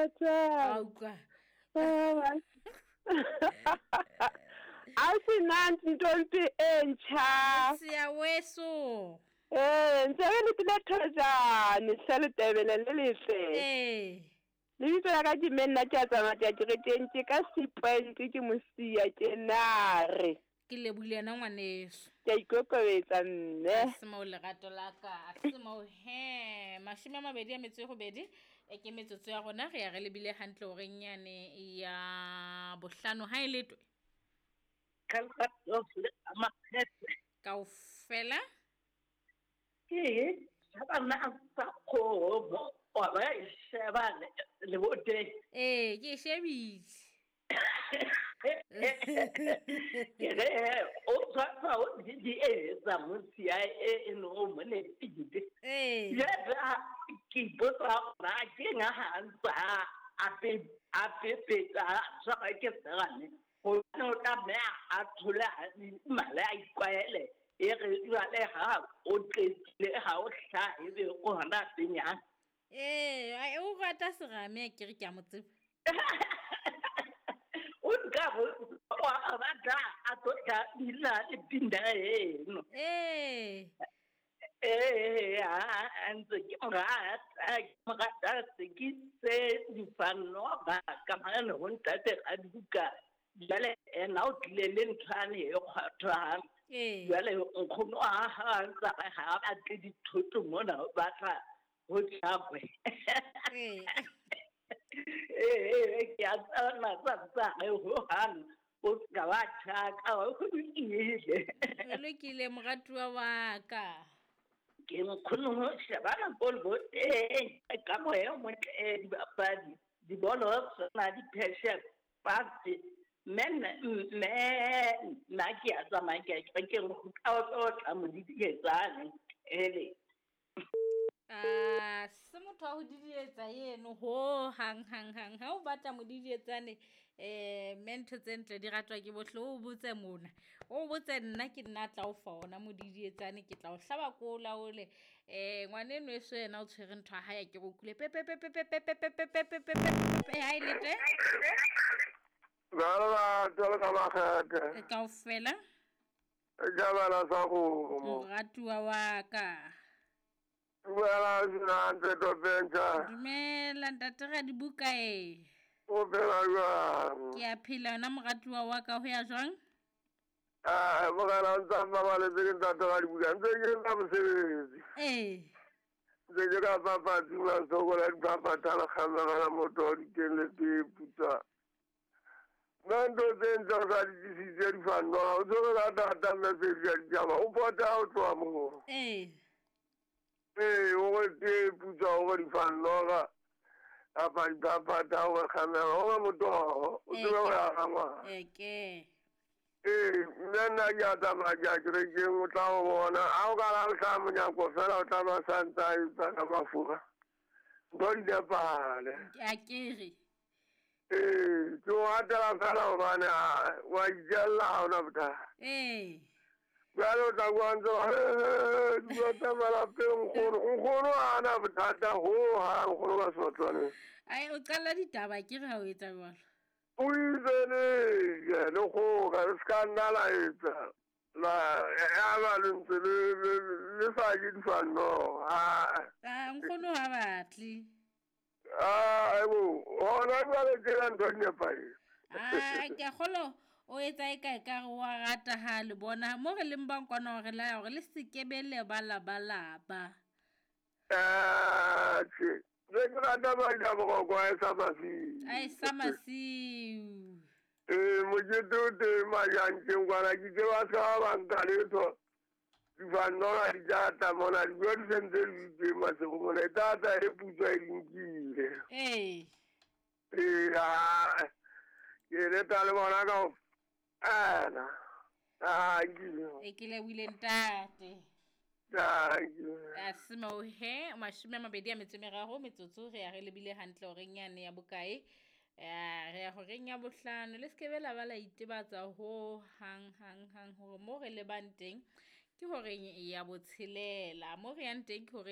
A utlwa. A se nantsi ntombi entsha. Siya weso. Ee, ntse re letile thojane hle letebele le letle. Ee. Lebitso la ka ke mme nna ke a tsamaya ke ya kerekeng ke ka C-point ke mosia ke nare. Ke lebohile yena ngwaneso. Ke a ikokobetsa mme. Se moo lerato la ka, se moo he. 28 e ke metsotso ya rona re ya re lebile hantle horeng yane ya bohlano ha e letwe. Kaofela. Ke shebana sa kgomo wa ba e sheba leboteng. Ee, ke e shebile. Ke re o tshwasa o di etsa mosia e no o mo nepile. Ee. Jwale ke ipotsa hore na ke eng ha ntsa a pepetsa a tshwarwa ke serame. Hobane o tlameha a thole mala a itlwaele e re jwale ha o qetile ha o hlahe ebe o hona penyang. Ee, o rata serame ke re ke a mo tseba. O nka wa rata a tlo tla bina le pina eno. Ee. Ee, a ntse ke mo rata, ke mo rata se ke se difanoga ka mane ho ntate Rabuka. Jwale ena o tlile le nthwane e kgwathwang. Ee. Jwale nkgono wa hae a ntsa re ha a batle dithoto mona o batla ho tjhakwe. Ee. Ee, ke a tseba tsa re hohang o ska wa tjhaka, o lokile. O lokile moratuwa wa ka. Ke nkgono ho shebana ko leboteng ka moya o motle dibapadi dibolo tsona di-passion pase mme mme nna ke a tsamaya ke ya kerekeng ho tla o tla mo didietsane ele. A se motho wa ho didietsa eno ho hang hang hang ha o batla mo didietsane mme ntho tse ntle di ratwa ke bohle o botse mona o botse nna ke nna tla o fa ona mo didietsane ke tla o hlaba ko o laole ngwaneno eso yena o tshwere ntho ya hae ke go kule pe pe pe pe pe pe pe pe pe pe pe pe pe ha e lete Jalo ka makgethe. Kaofela. Jabala sa kgomo. Moratuwa wa ka. Dumela Sinante Topentsha. Dumela ntate Radibuka e. O phela jwang? Ke a phela yona moratuwa wa ka ho ya jwang? Ah, morena o ntsa mmabaletse ke ntate Radibuka ntse ke etsa mosebetsi. Ee. Ntse ke ka papatsi masokola diphaphatha le kgamegela motho wa diteng le tee putswa. Nna ntho tse ntle o sa di tlisitse difanoga o tshwere ka thata message ya ditaba o pota o tloha moo. Ee. Ee, o re tee putswa o re difanoga kapa diphaphatha o re kgamega o re motoho o tsebe ho ya ga ngwana. Eke. Ee, mme nna ke a tsamaya ke ya kerekeng o tla o bona ha o ka la hlaha monyako fela o tla ba sa ntse a etsa ka mafura ntho di nepahale. A kere. Ee, ke o ratela fela hobane wa itjella ha ona bothata. Ee. Jwale o tla bua ntse dilo tsa malapeng nkgono nkgono ha ana bothata hohang nkgono ka seotlwaneng. Ai o qala ditaba ke re ha o etsa jwalo. O itse le le kgoka le ska nna la etsa la ya ba le ntse le sa je difanoga. Ah, nkgono ha batle. Ah, ebo, hona jwale tjena ntho di nepahetse. Ah, ke a kgolwa o etsa e ka ekare wa rata ha le bona mo re leng bang kwana hore la hore le se ke be le ba la ba la ba. Ah, tjhe. Ne ke rata ba boroko a e sa masiu. A e sa masiu. Ee, mokete o teng majanteng kwana ke itse ba ska ba nka letho. Difanoga di tla tla mona dijo di sentse di teng masego mona e tla e putswa e di nkile. Ee. Ee, ke leta le bona kaofela. Thank E ke lebohile ntate. Thank you. A se moo he 23 metsotso re ya re lebile hantle horeng yane ya bokae. Re ya horeng ya bohlano le se ke be la ba la itebatsa ho hang hang hang hore mo re lebang teng ke horeng ya botshelela mo re yang teng ke horeng